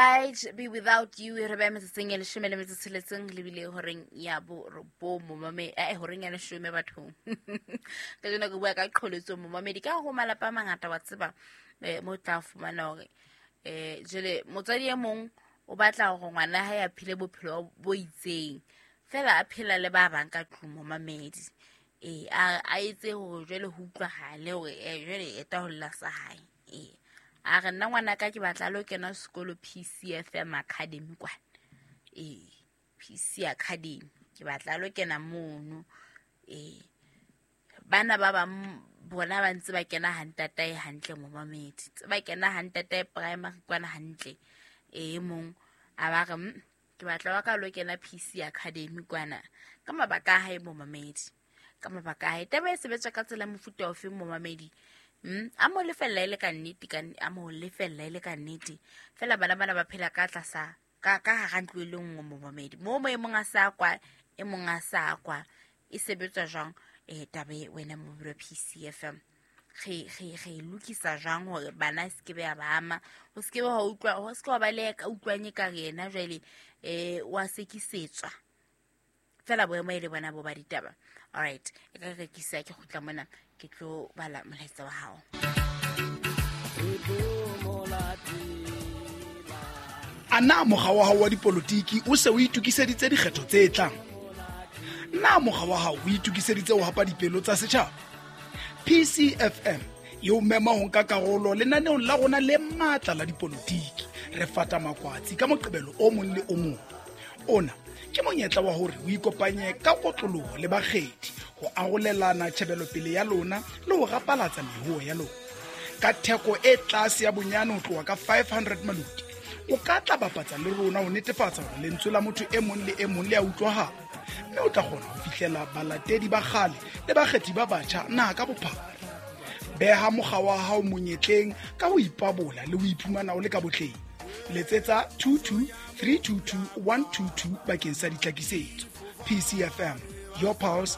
I'd be without you re beya metsotsong e leshome le metso tsheletseng lebile horeng ya borobong momame eh horeng ya leshome bathong. Ka jeno ke bua ka qholotso momamedi ka ho malapa a mangata wa tseba mo tla fumana hore jwale motswadi e mong o batla hore ngwana hae a phele bophelo bo itseng fela a phela le ba bang ka tlung momamedi. A etse hore jwale ho utlwahale hore jwale eta ho lla sa hae. A re nna ngwana ka ke batla lo kena sekolo PCFM Academy kwana. PC Academy ke batla lo kena mono. Bana ba bang bona ba ntse ba kena hantatae hantle momamedi. Tse ba kena hantatae primary kwana hantle. Mong a ba re ke batla wa ka lo kena PC Academy kwana ka mabaka a hae momamedi. Ka mabaka a hae. Taba e sebetswa ka tsela mofuta ofe momamedi? A mo lefella e le ka nnete, ka a mo lefella e le ka nnete. Fela bana bana ba phela ka tlasa ka hara ntlo e le nngwe momamedi. Mo mo e mong a sa kwa, e mong a sa kwa. E sebetswa jwang? Taba e wena momamedi wa PCFM. Re lokisa jwang hore bana se ke be ba ama? Ho se ke wa utlwa, ho se ke wa ba le ka utlwang e ka re yena jwale wa sekisetswa. Fela boemo e le bona bo ba ditaba. All right, e ka rekisa ke kgutla mona ke tlo bala molaetsa wa hao. A na mokga wa hao wa dipolotiki o se o itokiseditse dikgetho tse tlang? Na mokga wa hao o itokiseditse ho hapa dipelo tsa setjhaba? PCFM e o mema ho nka karolo lenaneong la rona le matla la dipolotiki. Re fata makwatsi ka moqebelo o mong le o mong. Ona ke monyetla wa hore o ikopanye ka kotloloho le bakgethi ho arolelana tjhebelopele ya lona le ho rapalatsa mehuo ya lona. Ka theko e tlase ya bonyane ho tloha ka 500 maloti, o ka tla bapatsa le rona ho netefatsa hore lentswe la motho e mong le e mong le a utlwahala, mme o tla kgona ho fihlela balatedi ba kgale le bakgethi ba batjha naha ka bophara. Beha mokga wa hao monyetleng ka ho ipabola le ho iphumana o le ka botleng. Letsetsa 22 322 122 bakeng sa ditlhakisetso. PCFM, your pulse,